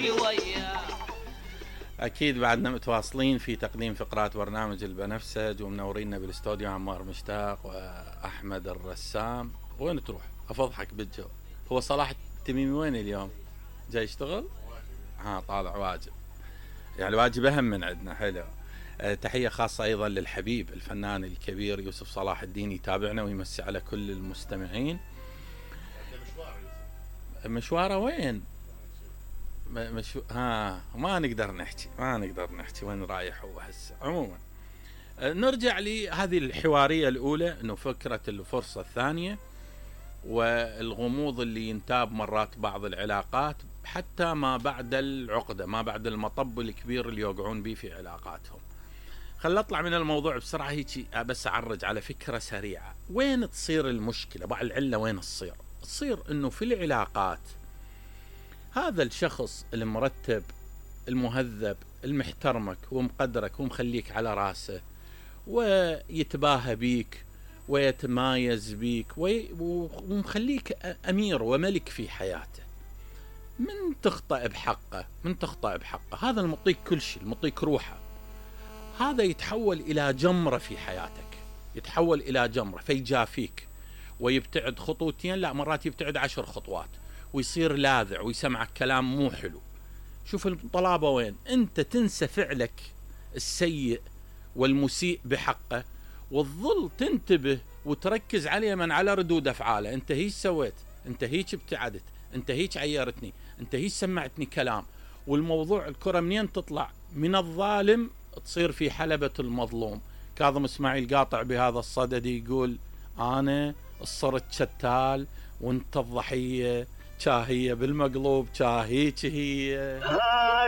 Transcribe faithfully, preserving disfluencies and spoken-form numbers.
امشي وياه. اكيد بعدنا متواصلين في تقديم فقرات برنامج البنفسج ومنورينا بالاستوديو عمار مشتاق واحمد الرسام. وين تروح؟ افضحك بالجو. هو صلاح التميمي وين اليوم؟ جاي يشتغل؟ ها طالع واجب، يعني واجب اهم من عندنا. حلو. أه تحية خاصة ايضا للحبيب الفنان الكبير يوسف صلاح الدين، يتابعنا ويمسي على كل المستمعين. مشواره وين؟ مشو... ها ما نقدر نحكي ما نقدر نحكي وين رايح هو هسه. عموما أه نرجع لهذه الحوارية الأولى، انه فكرة الفرصة الثانية والغموض اللي ينتاب مرات بعض العلاقات حتى ما بعد العقدة، ما بعد المطب الكبير اللي يوقعون به في علاقاتهم. خل اطلع من الموضوع بسرعة هيك، بس اعرج على فكرة سريعة. وين تصير المشكلة؟ بعض العلة وين تصير؟ تصير انه في العلاقات هذا الشخص المرتب المهذب المحترمك ومقدرك ومخليك على راسه ويتباهى بيك ويتمايز بيك ومخليك أمير وملك في حياته، من تخطئ بحقه من تخطئ بحقه هذا المطيك كل شيء، المطيك روحه، هذا يتحول إلى جمرة في حياتك، يتحول إلى جمرة فيجافيك ويبتعد خطوتين، لا مرات يبتعد عشر خطوات ويصير لاذع ويسمعك كلام مو حلو. شوف الطلابة وين؟ أنت تنسى فعلك السيء والمسيء بحقه وتظل تنتبه وتركز عليه من على ردود أفعاله. أنت هيك سويت، أنت هيك ابتعدت، أنت هيك عيرتني، أنت هيك سمعتني كلام. والموضوع الكرة منين تطلع؟ من الظالم تصير في حلبة المظلوم. كاظم اسماعيل قاطع بهذا الصدد يقول أنا صرت شتال وانت الضحية، شاهية بالمقلوب شاهيك هي.